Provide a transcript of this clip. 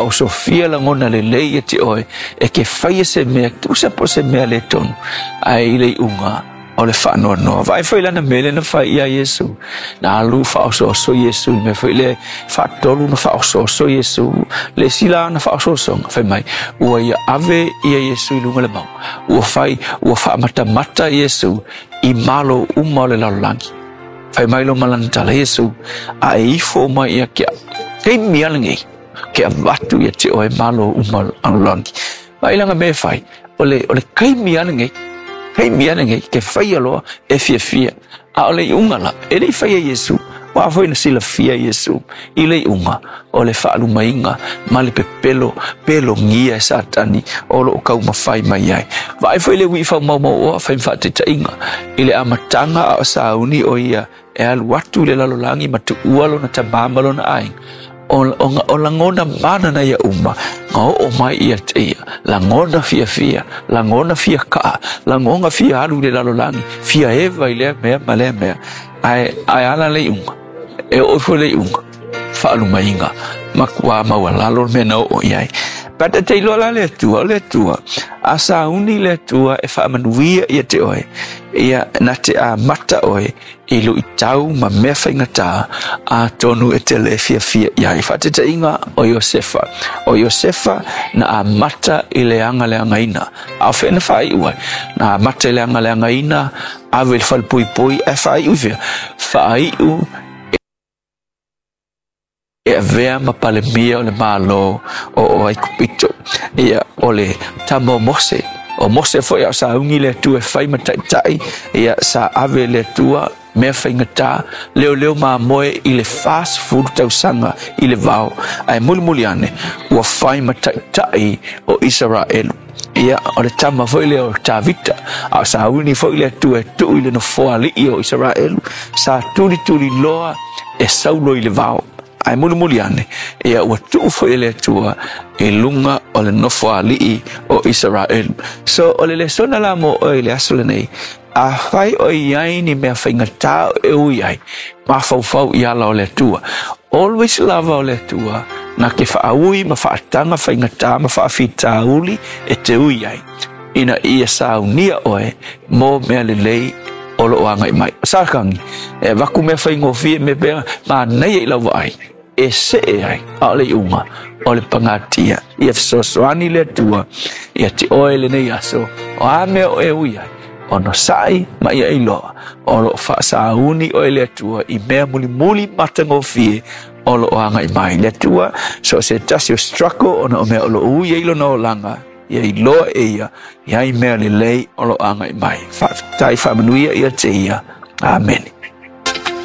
Faaosofia lagona lelei ia te oe e ke faia se mea tusa po o se mea le tonu, ae i le iuga o le faanoanoa. Vaai foi lana mea lea na fai ia Iesu. Na alu faaosooso Iesu i le mea foi lea faatolu na faaosooso Iesu. Le isi la na faaosoosoga fai mai ua ia ave ia Iesu i luga le mauga. Ua fai ua faamatamata Iesu i malo uma o le lalolagi. Fai mai loa ma lana tala, Iesu, a e ifo mai ia ke au, taimi lava lenei, ke avatu ia te oe malo uma o le lalolagi. Vaai la ka mea e fai, o le, o le taimi lava lenei, taimi lava lenei, ke faia loa e fiafia. A o le iuga la, e le i faia Iesu, ua foi na silafia Iesu i le iuga o le faalumaina ma le pepelo pelogia e Satani o lo o taumafai mai ai. Vaai foi le ui'i faamaumauoa fai ma faataitaiga i le amataga a o sauni o ia e alu atu i le lalolagi ma tuua lona tamā ma lona aiga. O, o, o lagona mana ia uma, na oo mai ia te ia, lagona fiafia, lagona fia kaa, lagona fia alu i le lalolagi, fia eva i lea mea ma lea mea. Ae, ae ala le iuga, e oo ifo le iuga, faalumaina, matua maualalo le mea na oo i ai. But e te iloa la le Atua, o le Atua, a sauni le Atua e faamanuia ia te oe, ia na te amata oe i luitau ma mea faigata, atonu e te le fiafia i ai. Faataitaiga o Iosefa. O Iosefa na amata i le agaleagaina. A o fea na faaiu ai? Na amata i le agaleagaina, ave i le falepuipui, ae faaiu i fea? Faaiu e avea ma Palemia o le Malo o Aikupito. Ia, o le tama o Mose. O Mose foi a o sauni le Atua e fai ma taitai, ia, sa ave e le Atua mea faigata, leoleo mamoe i le 40 tausaga i le vao, ae mulimuli ane, ua fai ma taitai o Isaraelu. Ia, o le tama foi lea o Tavita, a o sauni foi le Atua e tuu i le nofoa alii o Isaraelu, sa tulituliloa e Saulo i le vao. Ae mulimuli ane, ia ua tuu foi e le Atua i luga o le nofo alii o Isaraelu. So, o le lesona la mo oe i le aso lenei, afai o i ai ni mea faigata e ui ai, mafaufau i ala o le Atua. Always lava o le Atua na te faaui ma faataga faigata ma faafitauli e te ui ai, ina ia saunia oe mo mea lelei o lo o agai mai. O Satani, e avatu mea faigofie me pea manaia i lau vaai, e see ai, a o le iuga o le pagatia. Ia fesoasoani le Atua ia te oe lenei aso, o a mea o e ui ai, onosai ma ia iloa o lo o faasauni oe le Atua i mea mulimuli matagofie o lo o agai mai. Le Atua, so o se tasi o struggle ona o mea o lo o ui ai lona olaga, ia iloa e ia i ai mea lelei o lo o agai mai. Faafetai, faamanuia ia te ia. Amene.